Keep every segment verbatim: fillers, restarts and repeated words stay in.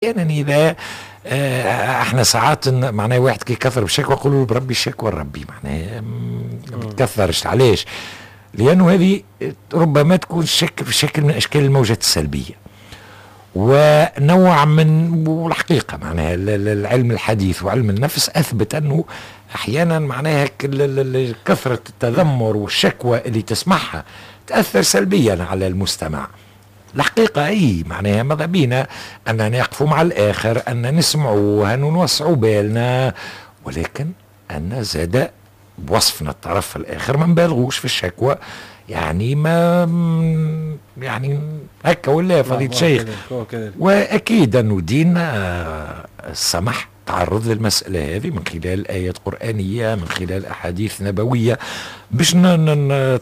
احيانا اذا آه، احنا ساعات معناها واحد كي يكثر بالشكوى يقولوا بربي الشكوى لربي، معناها ما تكثرش. علاش؟ لانه هذه ربما تكون شكل في شكل من اشكال الموجات السلبية ونوع من، والحقيقة معناها العلم الحديث وعلم النفس اثبت انه احيانا معناها كثرة التذمر والشكوى اللي تسمعها تاثر سلبيا على المستمع. الحقيقة أي معناها ماذا بينا أن نقف مع الآخر، أن نسمعوه، أن نوسعوا بالنا، ولكن أن زاد بوصفنا الطرف الآخر ما نبالغوش في الشكوى، يعني ما يعني هكا ولا فضيلة الشيخ؟ وأكيد أنه ديننا سمح تعرض للمسألة هذه من خلال آيات قرآنية، من خلال أحاديث نبوية، باش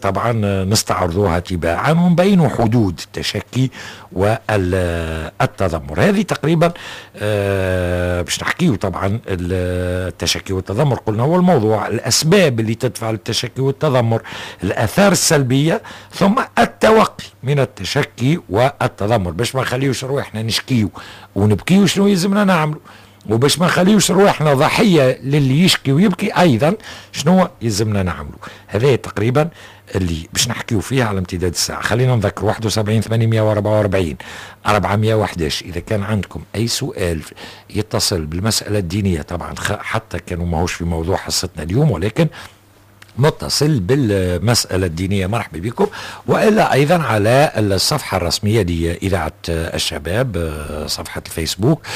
طبعا نستعرضوها تباعا ونبينوا حدود التشكي والتذمر. هذه تقريبا آه، باش نحكيو طبعا التشكي والتذمر، قلنا هو الموضوع، الأسباب اللي تدفع للتشكي والتذمر، الآثار السلبية، ثم التوقي من التشكي والتذمر باش ما نخليوش رواحنا نشكيو ونبكيو، شنو يلزمنا نعملوا، وباش ما نخليوش رواحنا ضحية للي يشكي ويبكي ايضا شنو يلزمنا نعملوا. هذا تقريبا اللي باش نحكيو فيه على امتداد الساعه. خلينا نذكر واحد وسبعين ثمانمية وأربعة وأربعين أربعمية وحداش اذا كان عندكم اي سؤال يتصل بالمسالة الدينيه، طبعا حتى كانوا ماهوش في موضوع حصتنا اليوم ولكن متصل بالمسألة الدينية، مرحبا بكم، وإلا أيضا على الصفحة الرسمية لإذاعة الشباب، صفحة الفيسبوك،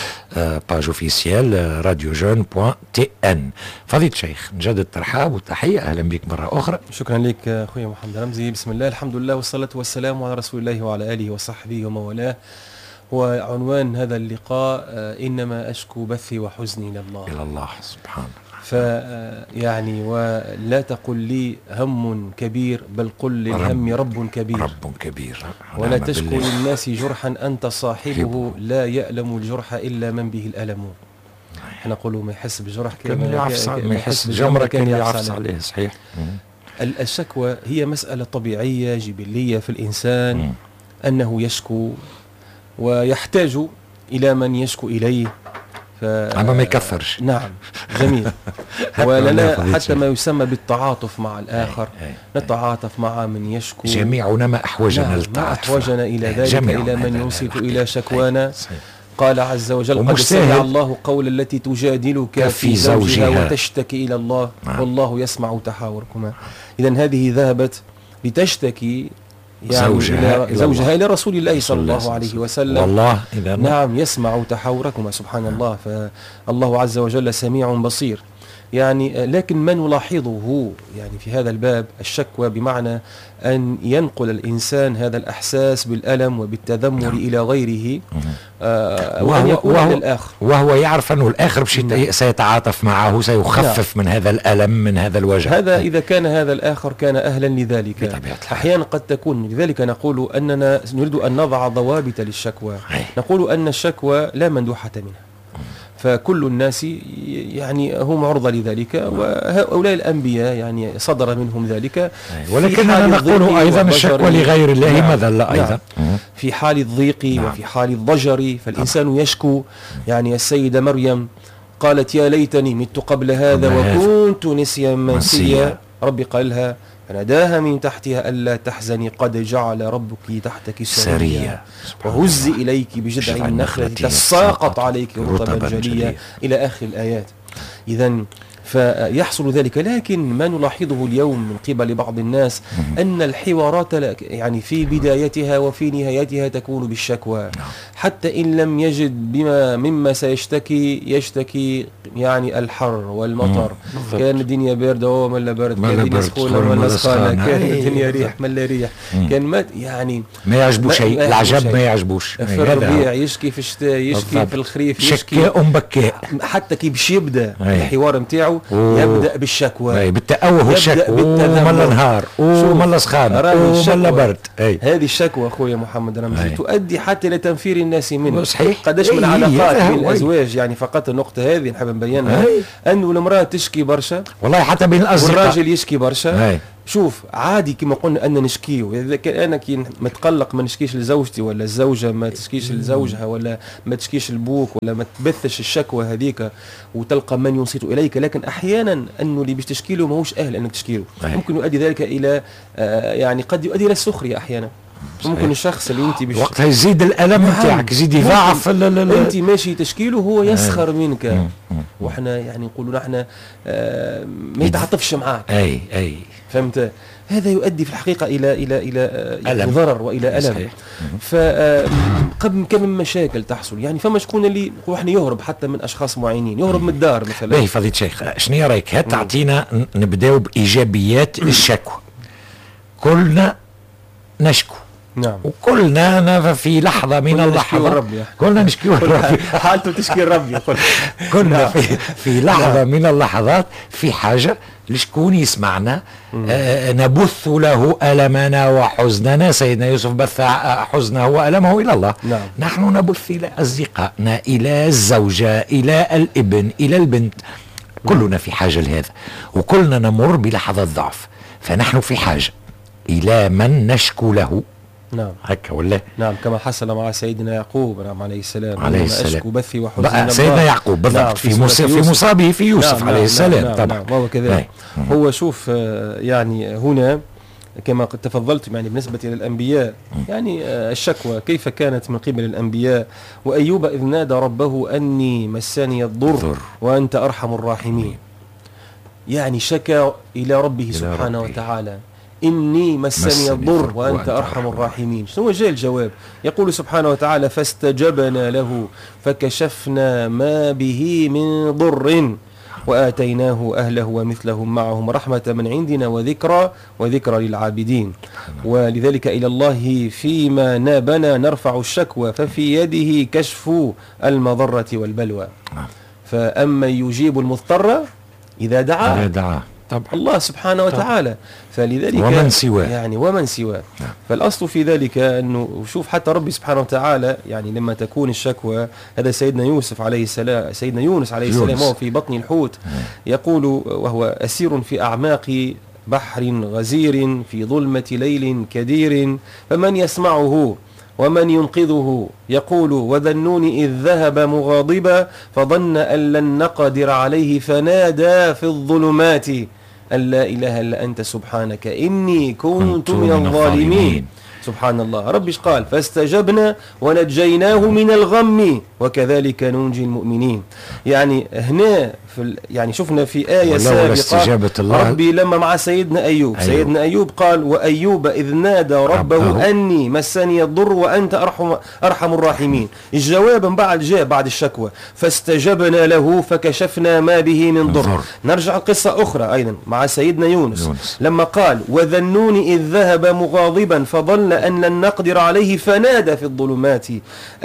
page officielle radio jeunes point tn. فضيلة الشيخ، نجدد الترحاب والتحية، أهلا بك مرة أخرى. شكرا لك أخوي محمد رمزي. بسم الله، الحمد لله، والصلاة والسلام على رسول الله وعلى آله وصحبه ومن والاه. وعنوان هذا اللقاء آه، إنما أشكو بثي وحزني إلى الله. إلى الله سبحانه. ف يعني ولا تقل لي هم كبير، بل قل للهم رب كبير. رب كبير. ولا تشكو للناس جرحا أنت صاحبه، لا يألم الجرح إلا من به الألم. احنا نقولوا ما يحس بجرح كان يعفس، ما يحس بجمرة كان يعفس عليه، صحيح. الشكوى هي مسألة طبيعية جبلية في الإنسان، مم. أنه يشكو ويحتاج إلى من يشكو إليه. ف... أما ما يكثرش. نعم، جميل. ولنا حتى ما يسمى بالتعاطف مع الآخر، أي أي نتعاطف مع من يشكو. جميعنا ما أحوجنا نعم للتعاطف. ما أحوجنا إلى ذلك، إلى من ينصت إلى شكوانا. قال عز وجل: قد سمع الله قول التي تجادلك في زوجها وتشتكي إلى الله نعم. والله يسمع تحاوركما. إذا هذه ذهبت لتشتكي يعني زوجها إلى زوجها إلى رسول الله صلى الله عليه وسلم. والله إذا نعم، يسمع تحاوركما، سبحان الله، فالله عز وجل سميع بصير. يعني لكن ما نلاحظه يعني في هذا الباب، الشكوى بمعنى أن ينقل الإنسان هذا الإحساس بالألم وبالتذمر نعم. إلى غيره آه وهو, يكون وهو, الآخر وهو يعرف أنه الآخر نعم. سيتعاطف معه، سيخفف نعم. من هذا الألم، من هذا الوجع. هذا إذا كان هذا الآخر كان أهلا لذلك. بطبيعة أحيانا قد تكون، لذلك نقول أننا نريد أن نضع ضوابط للشكوى. نقول أن الشكوى لا مندوحة منها، فكل الناس يعني هم عرضة لذلك، وهؤلاء الأنبياء يعني صدر منهم ذلك. ولكننا نقول أيضا الشكوى لغير الله نعم مذلة أيضا. نعم. في حال الضيق نعم. وفي حال الضجر فالإنسان يشكو. يعني السيدة مريم قالت: يا ليتني مت قبل هذا وكنت نسيا منسيا. ربي قال لها، فناداها من تحتها ألا تحزني قد جعل ربك تحتك سريا وهزي إليك بجذع النخلة تساقط عليك رطبا جنيا، إلى آخر الآيات. إذا فيحصل ذلك، لكن ما نلاحظه اليوم من قبل بعض الناس أن الحوارات يعني في بدايتها وفي نهايتها تكون بالشكوى نعم. حتى إن لم يجد بما مما سيشتكي، يشتكي يعني الحر والمطر، كان الدنيا باردة وملا برد، كان الدنيا سخونة ولا سخانة، كان الدنيا ريح ملا ريح، كان ما يعني ما يعجبو شيء، العجب ما يعجبوش. في الربيع يشكي، في الشتاء يشكي، في الخريف يشكي. شكاء بكاء. حتى كي باش يبدا الحوار نتاعو يبدا بالشكوى. أي، بالتأوه والشكوى، وملا نهار وملا سخانة وملا برد. أي. هذه الشكوى اخويا محمد رمزي تؤدي حتى الى تنفير الناس منه. صحيح. قداش من علاقات بين الازواج، يعني فقط النقطة هذه نحب نبينها، انه المراة تشكي برشا والله حتى بين الاصدقاء والراجل يشكي برشا. شوف عادي كما قلنا ان نشكيه، اذا كان انا كي متقلق ما نشكيش لزوجتي، ولا الزوجة ما تشكيش لزوجها، ولا ما تشكيش لبوك، ولا ما تبثش الشكوى هذيك وتلقى من ينصت اليك. لكن احيانا انه اللي باش تشكي له ماهوش اهل انك تشكي له، ممكن يؤدي ذلك الى آه يعني قد يؤدي الى السخرية احيانا. ممكن الشخص اللي انت بش وقتها يزيد الالم نتاعك، يزيد يضاعف. انت ماشي تشكيله هو يسخر منك، وحنا يعني نقولوا نحن آه ما يتعاطفش معاك. اي اي فهمت؟ هذا يؤدي في الحقيقة الى الى الى يعني ضرر والى الم. فقبل كم من مشاكل تحصل، يعني فما شكون اللي احنا يهرب حتى من اشخاص معينين، يهرب من الدار مثلا. باهي فضيلة الشيخ، شنو رايك هات تعطينا نبداو بايجابيات الشكوى. كلنا نشكو، نعم، وكلنا في لحظة من اللحظات كلنا نشكي ربي، حالته تشكي ربي. كلنا في في لحظة من اللحظات في حاجة لشكون يسمعنا، آه نبث له ألمنا وحزننا. سيدنا يوسف بث حزنه وألمه إلى الله. نعم. نحن نبث إلى أصدقائنا، إلى الزوجة، إلى الابن، إلى البنت. كلنا في حاجة لهذا، وكلنا نمر بلحظات ضعف، فنحن في حاجة إلى من نشكو له. نعم هكا ولا؟ نعم، كما حصل مع سيدنا يعقوب نعم عليه السلام، عليه السلام أشكو بثي وحزني. سيدنا يعقوب بالضبط. نعم في, في, في مصابه في يوسف. نعم عليه نعم السلام. نعم طبعا نعم وهو كذلك. هو شوف يعني هنا كما قد تفضلت يعني بالنسبة للأنبياء، يعني الشكوى كيف كانت من قبل الأنبياء. وأيوب إذ نادى ربه أني مسني الضر وأنت أرحم الراحمين. يعني شكى إلى ربه سبحانه ربي. وتعالى إني مسني الضر وأنت أرحم الراحمين. شنو جاء الجواب؟ يقول سبحانه وتعالى فاستجبنا له فكشفنا ما به من ضر وآتيناه أهله ومثلهم معهم رحمة من عندنا وذكرى وذكرى للعابدين. ولذلك إلى الله فيما نابنا نرفع الشكوى ففي يده كشف المضرة والبلوى. فأما يجيب المضطر إذا دعاه، طبعا الله سبحانه وتعالى. فلذلك ومن سواه، يعني ومن سواه. نعم. فالأصل في ذلك أنه شوف حتى ربي سبحانه وتعالى يعني لما تكون الشكوى، هذا سيدنا يوسف عليه السلام، سيدنا يونس عليه السلام وهو في بطن الحوت يقول وهو أسير في أعماق بحر غزير في ظلمة ليل كدير فمن يسمعه ومن ينقذه يقول وذنون إذ ذهب مغاضبا فظن أن لن نقدر عليه فنادى في الظلمات أن لا إله إلا أنت سبحانك إني كنت من الظالمين. سبحان الله. ربي ايش قال؟ فاستجبنا ونجيناه من الغم وكذلك ننجي المؤمنين. يعني هنا في يعني شفنا في آية سابقة الله ربي لما مع سيدنا أيوب، أيوب. سيدنا أيوب قال وأيوب إذ نادى ربه, ربه أني مسني الضر وأنت أرحم أرحم الراحمين. الجواب من بعد جاء بعد الشكوى فاستجبنا له فكشفنا ما به من ضر. نرجع لقصة أخرى أيضا مع سيدنا يونس, يونس. لما قال وذنون إذ ذهب مغاضبا فظن أن لن نقدر عليه فنادى في الظلمات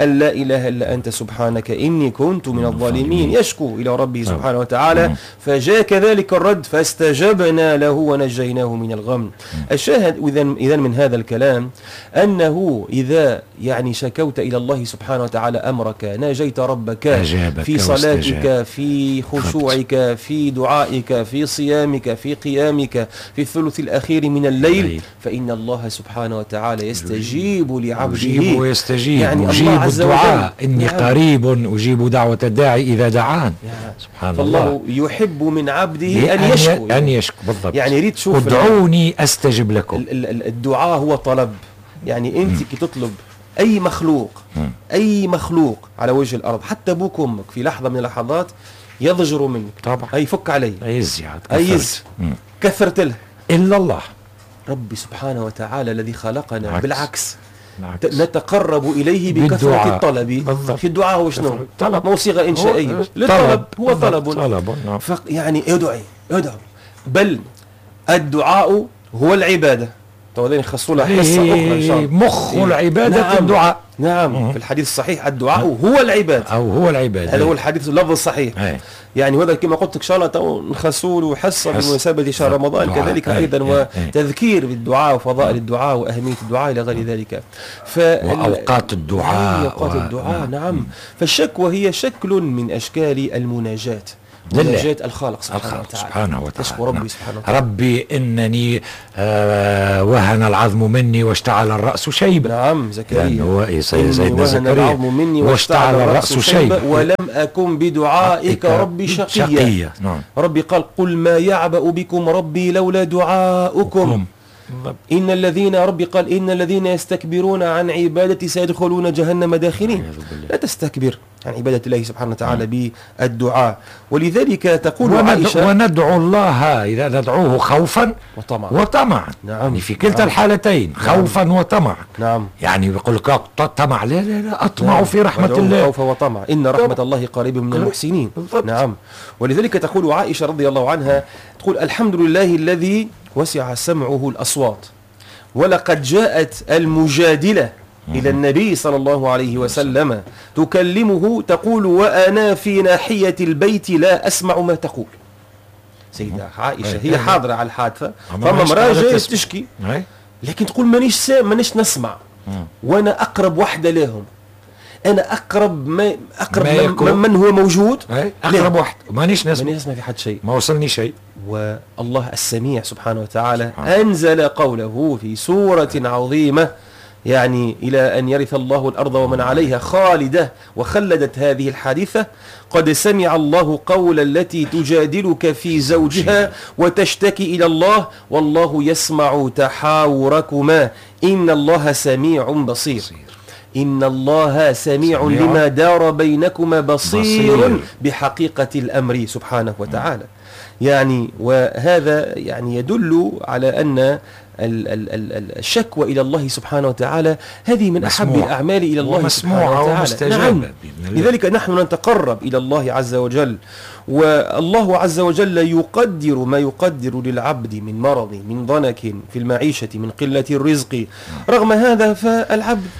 أن لا إله إلا أنت سبحانك إني كنت من الظالمين. يشكو إلى ربه سبحانه وتعالى. فجاء كذلك الرد فاستجبنا له ونجيناه من الغم. الشاهد إذن من هذا الكلام أنه إذا يعني شكوت إلى الله سبحانه وتعالى أمرك، ناجيت ربك في صلاتك، في خشوعك، في دعائك، في صيامك، في قيامك، في الثلث الأخير من الليل، فإن الله سبحانه وتعالى يستجيب لعبده. يجيب ويستجيب. يعني أجيب الله عز الدعاء وجل. إني يعني قريب أجيب دعوة الداعي إذا دعان. يعني سبحان الله. فالله يحب من عبده أن يشكو. أن يشكو بالضبط. يعني يريد تشوف ادعوني أستجب لكم. الدعاء هو طلب. يعني أنت كي تطلب أي مخلوق، م. أي مخلوق على وجه الأرض، حتى أبوك وأمك في لحظة من اللحظات يضجروا منك. طبعا. أي فك علي. أيز أيز كثرت له. إلا الله. ربي سبحانه وتعالى الذي خلقنا بالعكس. بالعكس. بالعكس. نتقرب إليه بكثرة الطلب. بالضبط. في الدعاء هو شنو؟ طلب. مو صيغة إنشائية. للطلب هو طلب. طلب. نعم. يعني ادعي ادعو، بل الدعاء هو العبادة. تو نخصوا لها حصة أخرى إن شاء الله. مخ العبادة. نعم. الدعاء. نعم. مم. في الحديث الصحيح الدعاء هو العبادة. أو هو العبادة. هذا هو الحديث اللفظ الصحيح. أي. يعني وهذا كما قلت إن شاء الله تو نخصوا له حصة بمناسبة شهر رمضان كذلك أيضا، وتذكير بالدعاء وفضائل الدعاء وأهمية الدعاء إلى غير ذلك. ف وأوقات الدعاء. أوقات و... الدعاء. نعم. فالشكوى هي شكل من أشكال المناجاة. مناجاة الخالق سبحانه الخالق وتعالى. سبحانه وتعالى. تشكو ربي نعم. سبحانه وتعالى. ربي إنني آه وهن العظم مني واشتعل الرأس شيبة. نعم زكريا، يعني هو سيدنا وهن زكريا العظم مني واشتعل الرأس شيبة ولم أكن بدعائك ربي شقيا. شقيا. نعم. ربي قال قل ما يعبأ بكم ربي لولا دعاؤكم. إن الذين ربي قال إن الذين يستكبرون عن عبادتي سيدخلون جهنم داخلين. لا تستكبر عن عبادة الله سبحانه وتعالى بالدعاء. ولذلك تقول عائشة وندعو الله إذا ندعوه خوفا وطمعا. وطمعا. نعم. يعني في كلتا نعم. الحالتين خوفا نعم. وطمعا. نعم. يعني يقول لك طمع، لا لا لا أطمع نعم. في رحمة الله. خوفا وطمعا، إن رحمة الله قريب من المحسنين. بالضبط. نعم. ولذلك تقول عائشة رضي الله عنها، تقول الحمد لله الذي وسع سمعه الأصوات، ولقد جاءت المجادلة إلى النبي صلى الله عليه وسلم تكلمه تقول وأنا في ناحية البيت لا أسمع ما تقول. سيدة عائشة هي حاضرة على الحادثة، فما امرأة جاية تشكي لكن تقول مانيش مانيش نسمع، وأنا أقرب وحدة لهم، أنا أقرب ما أقرب ما من, من هو موجود، أقرب واحد مانيش نسمع، مانيش نسمع في حد شيء، ما وصلني شيء. والله السميع سبحانه وتعالى أنزل قوله في سورة عظيمة، يعني إلى أن يرث الله الأرض ومن عليها خالدة، وخلدت هذه الحادثة. قد سمع الله قول التي تجادلك في زوجها وتشتكي إلى الله والله يسمع تحاوركما إن الله سميع بصير. إن الله سميع, سميع لما دار بينكما بصير, بصير بحقيقة الأمر سبحانه وتعالى. يعني وهذا يعني يدل على أن الشكوى إلى الله سبحانه وتعالى هذه من أحب الأعمال إلى الله سبحانه وتعالى. نعم. لذلك نحن نتقرب إلى الله عز وجل، والله عز وجل يقدر ما يقدر للعبد من مرض، من ضنك في المعيشة، من قلة الرزق. رغم هذا فالعبد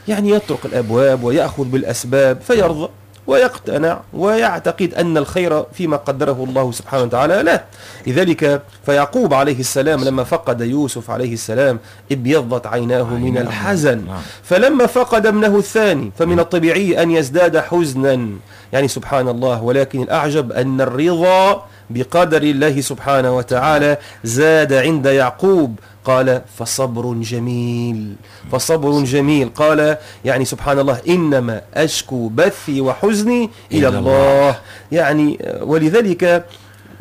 يعني يطرق الأبواب ويأخذ بالأسباب فيرضى ويقتنع ويعتقد أن الخير فيما قدره الله سبحانه وتعالى له. لذلك فيعقوب عليه السلام لما فقد يوسف عليه السلام ابيضت عيناه من الحزن، فلما فقد ابنه الثاني فمن الطبيعي أن يزداد حزنا، يعني سبحان الله. ولكن الأعجب أن الرضا بقدر الله سبحانه وتعالى زاد عند يعقوب. قال فصبر جميل، فصبر جميل. قال يعني سبحان الله إنما أشكو بثي وحزني إلى الله. يعني ولذلك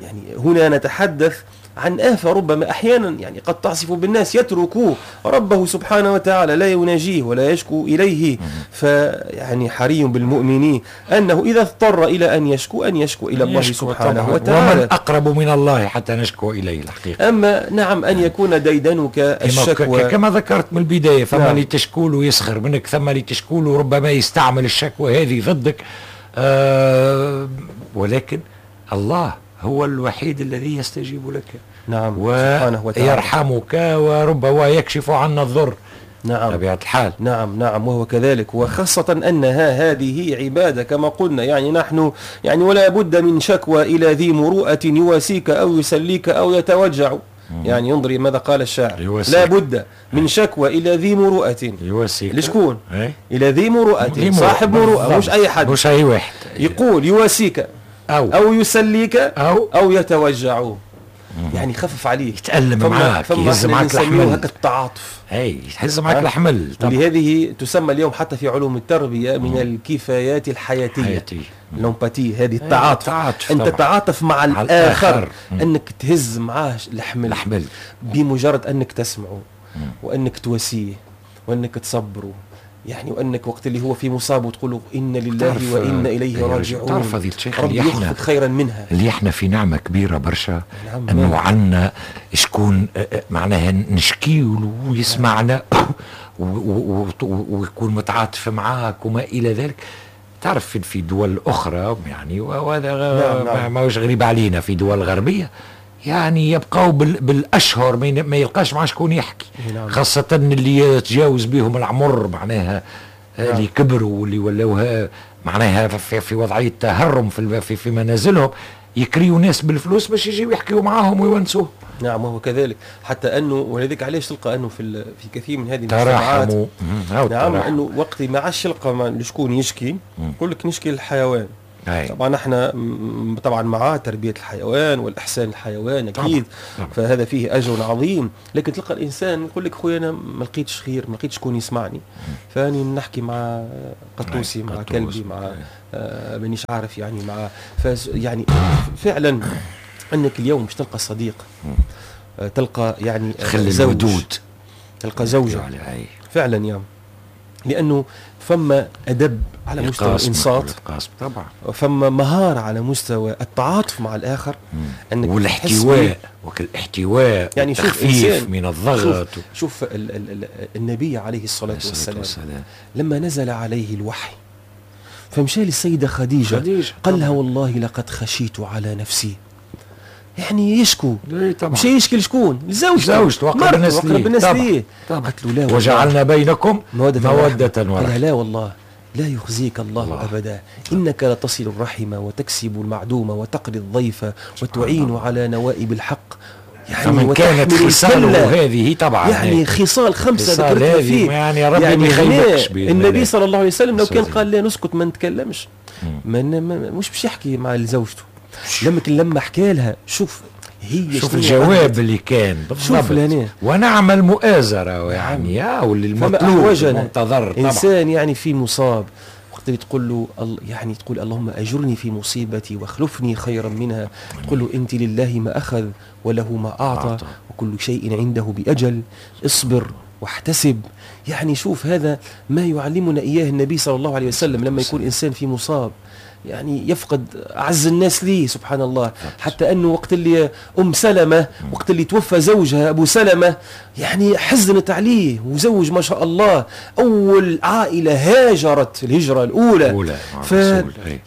يعني هنا نتحدث عن آفة ربما أحيانا يعني قد تعصف بالناس، يتركوه ربه سبحانه وتعالى لا يناجيه ولا يشكو إليه. فيعني حري بالمؤمنين أنه إذا اضطر إلى أن يشكو أن يشكو إلى الله سبحانه وتعالى. ومن أقرب من الله حتى نشكو إليه الحقيقة. أما نعم أن يكون ديدنك الشكوى كما ذكرت من البداية، فما نعم. اللي تشكوله يسخر منك، ثم اللي تشكوله ربما يستعمل الشكوى هذه ضدك، آه ولكن الله هو الوحيد الذي يستجيب لك. نعم. سبحانه وتعالى ويرحمك وربما يكشف عنا الضر. نعم. طبيعة الحال. نعم نعم وهو كذلك. وخاصة أنها هذه عبادة كما قلنا، يعني نحن يعني ولا بد من شكوى إلى ذي مروءة يواسيك أو يسليك أو يتوجع. يعني ينظري ماذا قال الشاعر، يواسيك. لا بد من شكوى إلى ذي مروءة. يواسيك لشكون؟ ايه؟ إلى ذي مروءة، صاحب مروءة، مش أي حد، مش أي واحد. يقول يواسيك أو, أو يسليك أو, أو يتوجع. يعني خفف عليه، يتألم معاك، يهز معاك الحمل، هكا التعاطف، اي يهز معاك الحمل. ولهذه تسمى اليوم حتى في علوم التربية من الكفايات الحياتية، حياتي. l'empathie، هذه التعاطف، التعاطف أن تتعاطف مع الآخر, الآخر. أنك تهز معاه الحمل، الحمل بمجرد أنك تسمعه وأنك تواسيه وأنك تصبره، يعني وأنك وقت اللي هو في مصابه تقول له إن لله وإنا إليه راجعون. تعرف فضيلة الشيخ ربي يخفض خيرا منها. اللي احنا في نعمة كبيرة برشا، نعم، أنه عنا شكون معناها نشكيه ويسمعنا ويكون متعاطف معاك وما إلى ذلك. تعرف في دول أخرى يعني، وهذا نعم، نعم. ما هوش غريب علينا، في دول غربية يعني يبقوا بالاشهر ما يلقاش مع شكون يحكي، نعم. خاصة اللي يتجاوز بهم العمر معناها، نعم. اللي كبروا واللي ولاوها معناها في, في وضعية تهرم في, في, في منازلهم، يكريوا ناس بالفلوس باش يجيو يحكيوا معاهم ويونسوه. نعم وهو كذلك. حتى انه ولذلك علاش تلقى انه في في كثير من هذه المجتمعات، نعم، انه وقت ما عادش يلقى لشكون يشكي، يقول لك نشكي للحيوان. أي. طبعا احنا طبعا مع تربيه الحيوان والاحسان الحيوان اكيد طبعا. فهذا فيه اجر عظيم، لكن تلقى الانسان يقول لك خويا انا ما لقيتش خير، ما لقيتش شكون يسمعني، فاني نحكي مع قطوسي، مع كلبي، مع آه مانيش عارف يعني مع فاز يعني فعلا انك اليوم مش تلقى صديق، آه تلقى يعني خلي الودود، تلقى زوجة فعلا يا لأنه فما أدب على مستوى الإنصات طبعا، فما مهارة على مستوى التعاطف مع الآخر، أنك والاحتواء، وكالاحتواء يعني والتخفيف من الضغط. شوف, شوف ال ال ال النبي عليه الصلاة والسلام, والسلام لما نزل عليه الوحي فمشى للسيدة خديجة, خديجة قال لها والله لقد خشيت على نفسي، يعني يشكو مش يشكي لشكون؟ لزوجته، زوجته واقرب الناس ليه. قالت له لا وجعلنا بينكم مودة ورحمة. لا والله لا يخزيك الله, الله أبدا، إنك لتصل الرحم وتكسب المعدوم وتقري الضيف وتعين على نوائب الحق. يعني فمن كانت خصاله هذه طبعا يعني خصال خمسة ذكرتها فيه، يعني ربي يعني ما يخيبكش. النبي صلى الله عليه وسلم لو كان قال لا نسكت ما نتكلمش، ما مش باش يحكي مع زوجته. لما لما حكى لها شوف هي شوف الجواب اللي كان بالضبط، ونعم المؤازرة يعني يا واللي المطلوب المنتظر. إنسان يعني في مصاب وقت اللي تقول له يعني تقول اللهم أجرني في مصيبتي واخلفني خيرا منها، تقول له أنت لله ما أخذ وله ما أعطى وكل شيء عنده بأجل، اصبر واحتسب. يعني شوف هذا ما يعلمنا إياه النبي صلى الله عليه وسلم لما يكون إنسان في مصاب يعني يفقد أعز الناس ليه سبحان الله. حتى أنه وقت اللي أم سلمة وقت اللي توفى زوجها أبو سلمة يعني حزنت عليه، وزوج ما شاء الله أول عائلة هاجرت الهجرة الأولى. ف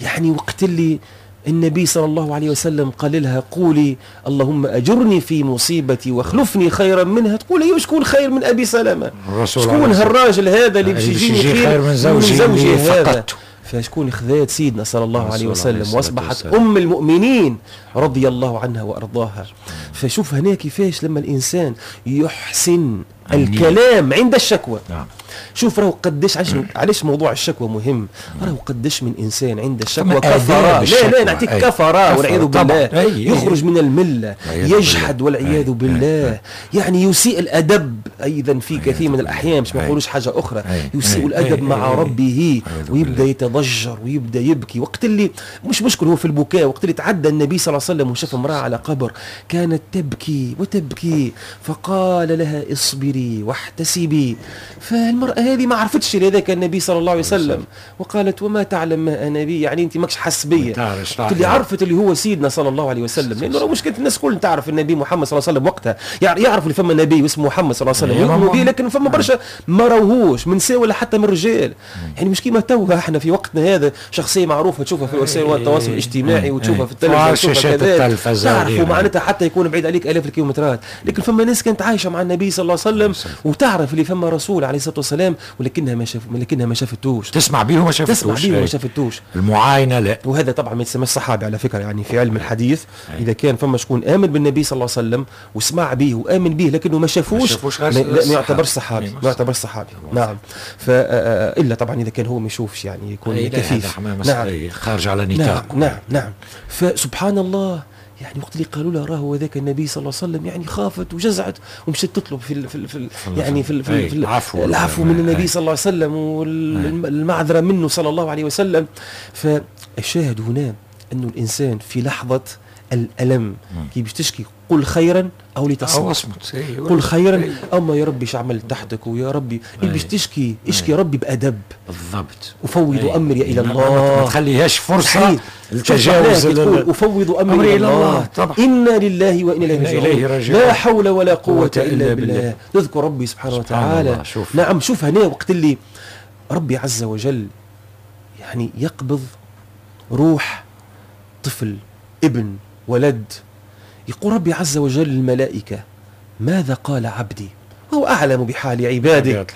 يعني وقت اللي النبي صلى الله عليه وسلم قال لها قولي اللهم أجرني في مصيبتي واخلفني خيرا منها، تقول أيوه شكون خير من أبي سلمة؟ شكون هالراجل هذا اللي باش يجيني خير, خير من زوجي, زوجي هذا؟ فشكون خذات سيدنا صلى الله عليه وسلم واصبحت ام المؤمنين رضي الله عنها وارضاها. فشوف هنا كيفاش لما الانسان يحسن الكلام عند الشكوى. نعم. شوف راهو قداش علاش علاش موضوع الشكوى مهم، راهو قداش من انسان عند الشكوى كفراء، لا لا نعطيك كفراء والعياذ بالله، يخرج من الملة، يجحد والعياذ بالله، يعني يسيء الادب ايضا في كثير من الاحيان، مش ما نقولوش حاجة اخرى، يسيء الادب مع ربه ويبدا يتضجر ويبدا يبكي. وقت اللي مش مشكل هو في البكاء، وقت اللي تعدى النبي صلى الله عليه وسلم وشاف امراة على قبر كانت تبكي وتبكي، فقال لها اصبري واحتسبي. فالمرأة هذه ما عرفتش لذاك النبي صلى الله عليه وسلم، وقالت وما تعلم ما أنا بي، يعني أنت ماكش حاس بيا. اللي عرفت اللي هو سيدنا صلى الله عليه وسلم، لأنه مشكلة الناس كل تعرف النبي محمد صلى الله عليه وسلم وقتها، يعرفوا اللي فما نبي واسمه محمد صلى الله عليه وسلم يؤمنوا به، لكن فما برشا ما راوهوش من نساء ولا حتى من الرجال. يعني مش كيما توا احنا في وقتنا هذا شخصية معروفة تشوفها في وسائل التواصل الاجتماعي وتشوفها في التلفزيون وتشوفها كذا، تعرفوا معناتها حتى يكون بعيد عليك آلاف الكيلومترات. لكن فما ناس كانت عايشة مع النبي صلى الله عليه وسلم وتعرف اللي فما رسول عليه الصلاة والسلام، ولكنها ما شاف ولكنها ما شافتوش، تسمع به وما شافتوش، تسمع به وما شافتوش، المعاينة لا. وهذا طبعا ما يتسمىش صحابي على فكرة، يعني في علم الحديث اذا كان فما شكون امن بالنبي صلى الله عليه وسلم وسمع به وامن به لكنه ما شافوش، ما, ما يعتبرش صحابي، ما يعتبرش صحابي. نعم. فالا طبعا اذا كان هو ما يشوفش يعني يكون كفيف، نعم، خارج على نطاق. نعم نعم نعم. فسبحان الله يعني وقت اللي قالوا لها راهو هذاك النبي صلى الله عليه وسلم، يعني خافت وجزعت ومشت تطلب في ال في ال في ال يعني في ال في, في العفو, العفو من النبي صلى الله عليه وسلم والمعذره منه صلى الله عليه وسلم. فالشاهد هنا انه الانسان في لحظة الالم كي باش تشكي قل خيرا او لتصمت، قل خيرا اما يا ربي اش عملت تحتك، ويا ربي باش تشكي اشكي ربي بادب بالضبط، افوض امري الى الله، ما تخليهاش فرصة للتجاوز، تقول افوض امري الى الله، طبعا. انا لله وانا اليه راجعون، لا حول ولا قوة الا بالله. نذكر ربي سبحانه وتعالى. شوف. نعم. شوف هنا وقت اللي ربي عز وجل يعني يقبض روح طفل ابن ولد، يقول ربي عز وجل للملائكة ماذا قال عبدي؟ هو أعلم بحال عباده.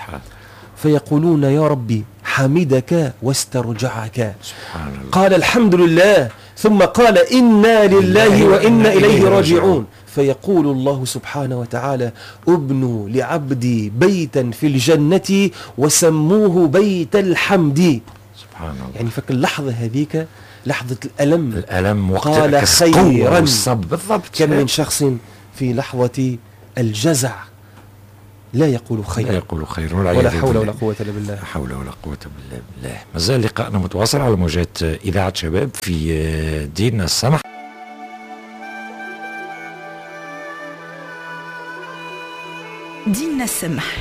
فيقولون يا ربي حمدك واسترجعك. سبحان الله. قال الحمد لله، ثم قال إنا لله وإنا إليه راجعون. فيقول الله سبحانه وتعالى ابنوا لعبدي بيتا في الجنة وسموه بيت الحمد. سبحان الله. يعني فك اللحظة هذيك لحظة الألم، الألم وقت قال خيرا بالضبط. كم من شخص في لحظة الجزع لا يقول خيرا، لا يقول خيرا، ولا حول ولا قوة إلا بالله. لا حول ولا قوة إلا بالله. مازال لقاءنا متواصل على موجات إذاعة شباب في ديننا السمح. ديننا السمح.